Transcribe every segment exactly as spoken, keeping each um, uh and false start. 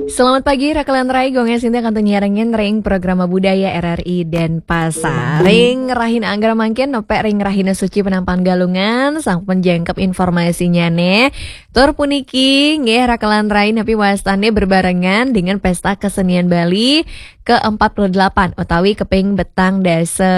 Selamat pagi, Rakelan Rai, Gonge Sinta kantun nyarengin ring programa budaya R R I Denpasar. Ring rahina anggra mangkin, nepek ring rahina suci penampan Galungan, sampun jangkep informasinya nih. Tur puniki, nggih, Rakelan Rai, napi wastane berbarengan dengan Pesta Kesenian Bali ke empat puluh delapan utawi keping petang dasa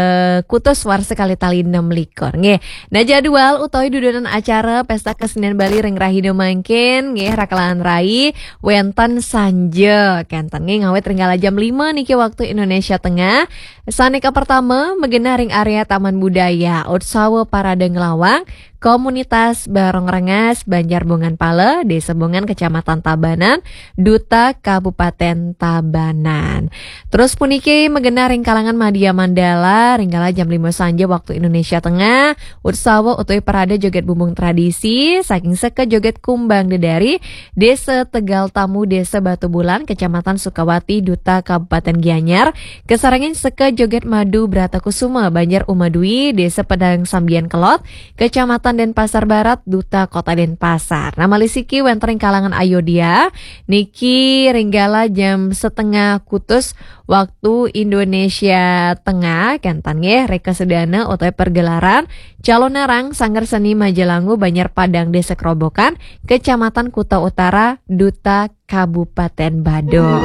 kutus warsa kalih tali enam likur. Nggih. Nah, jadwal utawi dudonan acara Pesta Kesenian Bali ring rahina mangkin, nggih, Rakelan Rai, wenten sanja kenten nggih, ngawit ring kala jam lima niki waktu Indonesia Tengah. Sane kapertama magenah ring area Taman Budaya, Utsawa Parade Nglawang, Komunitas Barong Rengas, Banjar Bongan Pala, Desa Bongan, Kecamatan Tabanan, Duta Kabupaten Tabanan. Terus puniki magenah ring kalangan Madya Mandala, ring kala jam lima sanja waktu Indonesia Tengah, Utsawa utawi Parade Joget Bumbung Tradisi, saking Seka Joget Kumbang Dedari, Desa Tegal Tamu, Desa Batu Bulan, Kecamatan Sukawati, Duta Kabupaten Gianyar, kasarengin Seka Joget Madu Brata Kusuma, Banjar Umadwi, Desa Padang Sambian Kelod, Kecamatan Denpasar Barat, Duta Kota Denpasar. Nah, malih siki wenten ring kalangan Ayodhya, niki ring kala jam setengah kutus waktu Indonesia Tengah, kenten nggih, reka sedana utawi pergelaran Calonarang Sanggar Seni Majalangu Banjar Padang Desa Kerobokan, Kecamatan Kuta Utara, Duta Kabupaten Badung.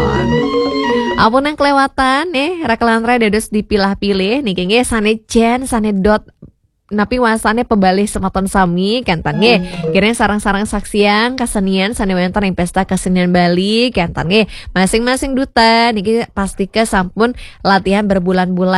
Ampun yang kelewatan nih, Rakelan Rai dados dipilah-pilih niki nggih, sane jen, sane dot napi wastane pebalih semeton sami kenten nggih. Kirang sareng-sareng saksian kesenian sane wenten ring Pesta Kesenian Bali kenten nggih. Masing-masing duta niki pastika sampun latihan berbulan-bulan